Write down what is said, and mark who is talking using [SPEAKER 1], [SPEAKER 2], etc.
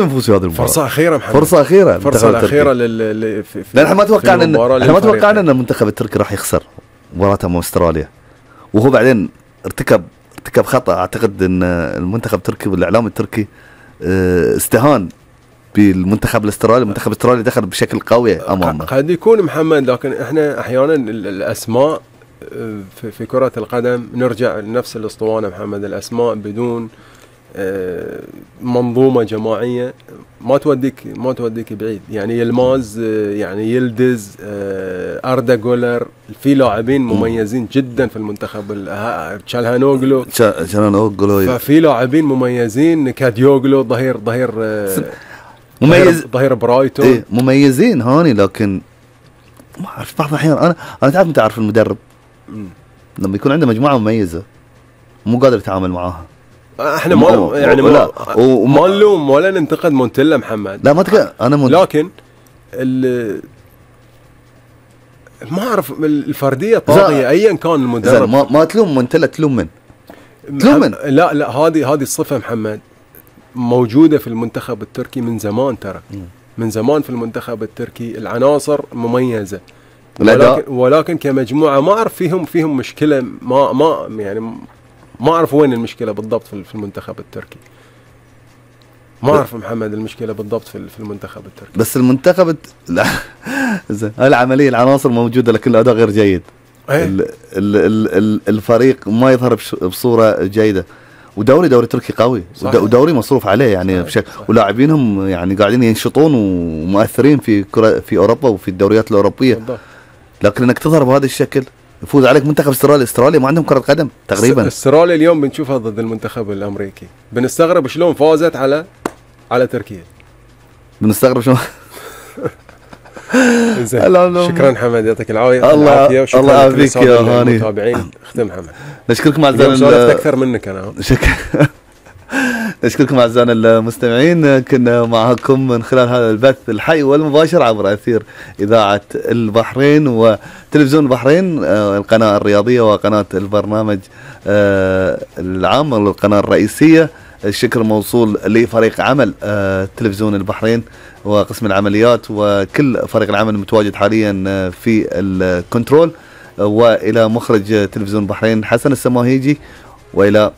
[SPEAKER 1] نفوز في هذه المباراة.
[SPEAKER 2] فرصة أخيرة محمد،
[SPEAKER 1] فرصة أخيرة،
[SPEAKER 2] فرصة أخيرة
[SPEAKER 1] لأن احنا ما توقعنا ان المنتخب التركي راح يخسر مباراة مع استراليا، وهو بعدين ارتكب خطأ. اعتقد ان المنتخب التركي والاعلام التركي استهان بالمنتخب الاسترالي. المنتخب الاسترالي دخل بشكل قوي امامه.
[SPEAKER 2] قد يكون محمد، لكن احنا احيانا الاسماء في كرة القدم نرجع لنفس الاسطوانة محمد، الاسماء بدون منظومة جماعية ما توديك بعيد. يعني يلماز، يعني يلدز، أردا جولر، في لاعبين مميزين جدا في المنتخب. تشالهانوغلو، ففي لاعبين مميزين. كاديوغلو ظهير
[SPEAKER 1] مميز،
[SPEAKER 2] ظهير برايتون،
[SPEAKER 1] إيه مميزين هاني. لكن ما اعرف بعض الاحيان انا تعرف متى اعرف المدرب لما يكون عنده مجموعة مميزة مو قادر يتعامل معاها.
[SPEAKER 2] احنا ما نلوم ولا ننتقد مونتيلا محمد،
[SPEAKER 1] لا ما
[SPEAKER 2] لكن ما اعرف الفرديه طاغيه ايا كان المدرب.
[SPEAKER 1] ما تلوم مونتيلا، تلوم من؟
[SPEAKER 2] لا هذه الصفه محمد موجوده في المنتخب التركي من زمان. ترى من زمان في المنتخب التركي العناصر مميزه، ولكن كمجموعه ما اعرف فيهم مشكله. ما أعرف وين المشكلة بالضبط في المنتخب التركي. ما أعرف محمد المشكلة بالضبط في المنتخب التركي.
[SPEAKER 1] بس المنتخب العملية العناصر موجودة لكن الأداء غير جيد. الفريق ما يظهر بصورة جيدة. ودوري تركي قوي، ودوري مصروف عليه يعني بشكل، ولاعبينهم يعني قاعدين ينشطون ومؤثرين في أوروبا وفي الدوريات الأوروبية. لكن انك تظهر بهذا الشكل يفوز عليك منتخب استراليا ما عندهم كرة قدم تقريبا.
[SPEAKER 2] استراليا اليوم بنشوفها ضد المنتخب الامريكي، بنستغرب شلون فازت على تركيا.
[SPEAKER 1] بنستغرب شلون.
[SPEAKER 2] شكرا حمد، يعطيك العافيه.
[SPEAKER 1] الله يعافيك يا هاني.
[SPEAKER 2] المتابعين اختم حمد.
[SPEAKER 1] نشكركم اعزائنا،
[SPEAKER 2] سولفت اكثر منك انا.
[SPEAKER 1] نشكركم اعزائنا المستمعين، كنا معكم من خلال هذا البث الحي والمباشر عبر اثير اذاعه البحرين وتلفزيون البحرين، القناه الرياضيه وقناه البرنامج العام والقناه الرئيسيه. الشكر موصول لفريق عمل تلفزيون البحرين وقسم العمليات وكل فريق العمل المتواجد حاليا في الكنترول، والى مخرج تلفزيون البحرين حسن السماهيجي، والى